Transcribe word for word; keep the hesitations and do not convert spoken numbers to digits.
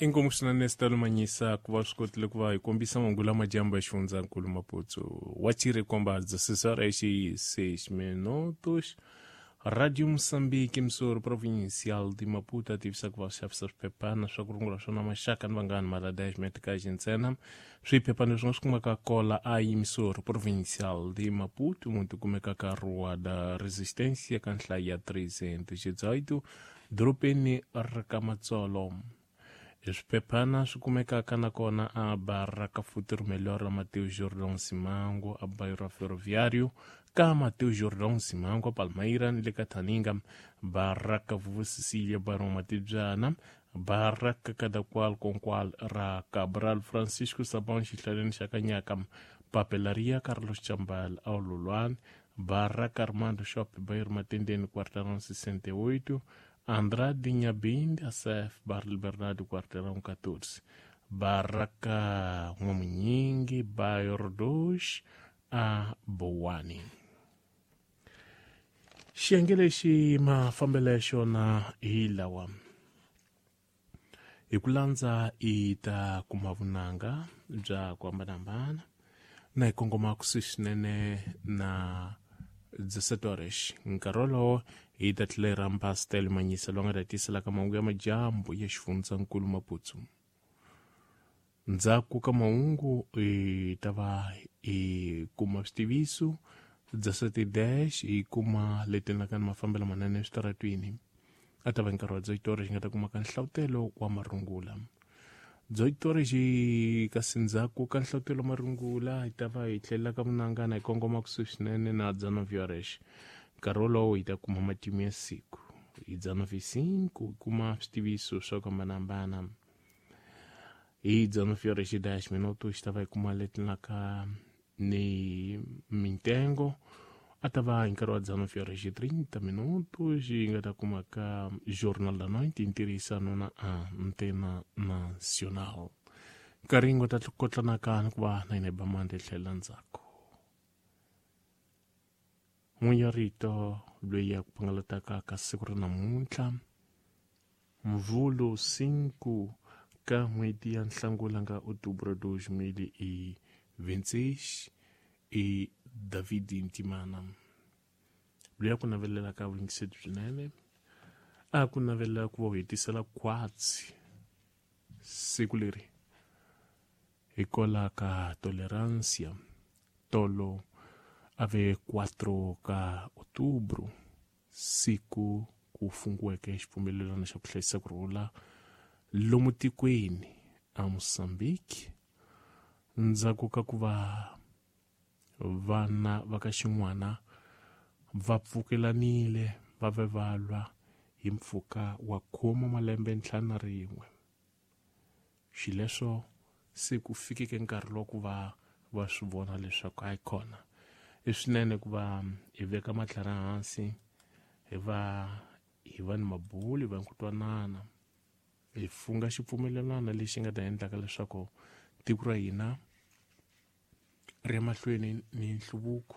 Inkomu swinene Stella Manyisa ku va swi kotile ku va hi kombisa mahungu lama dyambu ya xifundzankulu Maputo wa Chirikomba dezesseis e seis minutos. Radio Moçambique, emissora provincial de Maputo, ativisa ku va xavisa swiphephana swa ku rungula swona maxaka ni vanghana mala dez meticais ntsena. Swiphephana leswi nga swi kumaka kola a emissora provincial de Maputo, muti kumekaka Rua da Resistência ka nhlayo ya trezentos e dezoito, dorobeni ra ka Matsolo. Swiphephana swi kumekaka nakona a Baraka Futuro Melhor ra Mateus Jordão Simango, a Bairro Ferroviário ka Mateus Jordão Simango, Palmeira ni le ka Thaninga, Baraka Vuvu Cecília, Barão Matibyana, Baraka Kadakwal Konkwal ra Cabral Francisco Sabão xihlaleni xa Kanyaka, Papelaria Carlos Chambal Aululwane, Baraka Armando Shop Bairro Matendeni Quarteirão sessenta e oito, Andrade Nhabinde, A C F Barra Liberdade, quarteirão catorze, Baraka Nwamunyingi, Bairro dois, a Boane. Xiyenge lexi mafambelo ya xona hi lawa. Hi ku landza i ta kuma vunanga bya ku hambanahambana na hi kongoma kusuhi swinene na dezessete horas. Nkarhi wolowo hi ta tlhela hi rhamba Stella Manyisa loyi a nga ta tiselaka mahungu ya madyambu ya xifundzankulu Maputo. Ndzhaku ka mahungu hi ta va hi kuma switiviso dezessete dez hi kuma leti endlaka ni mafambelo manene eswitaratwini. A ta va nkarhi wa dezoito horas hi nga ta kuma ka nhlavutelo wa marungula. Dezoito horas kasi ndzhaku ka nhlavutelo wa marungula hi ta va hi tlhelela ka vunangana hi kongoma kusuhi swinene na dezenove horas. Nkarhi wolowo hi ta kuma matimu ya siku. Hi dezenove e cinco hi kuma switiviso swa ku hambanahambana. Hi dezenove horas e dez minutos hi ta va hi kuma leti endlaka ni mintengo. A ta va hi nkarhi wa dezenove horas e trinta minutos hi nga ta kuma ka Jornal da Noite hi ntirhisano na Antena Nacional. Nkarhi nga ta kotlanaka ni ku va na hina hi ba mandla hi tlhelela ndzhaku. N'winyi wa rito loyi a ku pangalataka ka siku ra namuntlha, Mvhulu cinco ka n'hweti ya Nhlangula nga outubro dois mil e vinte e seis i David Ntimana. Loyi a ku navelelaka vuyingiseri byinene, a ku navelela ku va u hetisela khwatsi siku leri hikwalaho ka tolerancia tolo a ve quatro ka outubro, siku ku fungiweke xipfumelelano xa ku hlayisa ku rhula lomu tikweni a Mozambique ndzhaku ka ku va vana va ka xin'wana va pfukelanile va ve va lwa hi mpfhuka wa khume malembe ntlhanu na rin'we. Xileswo se ku fikeke nkarhi lowu ku va va swi vona leswaku hayi kona i swinene ku va hi veka matlhari hansi, hi va hi va ni mabulu, hi va ni ku twanana, hi funga xipfumelelano lexi nga ta endlaka leswaku tiko ra hina ri ya mahlweni ni nhluvuko.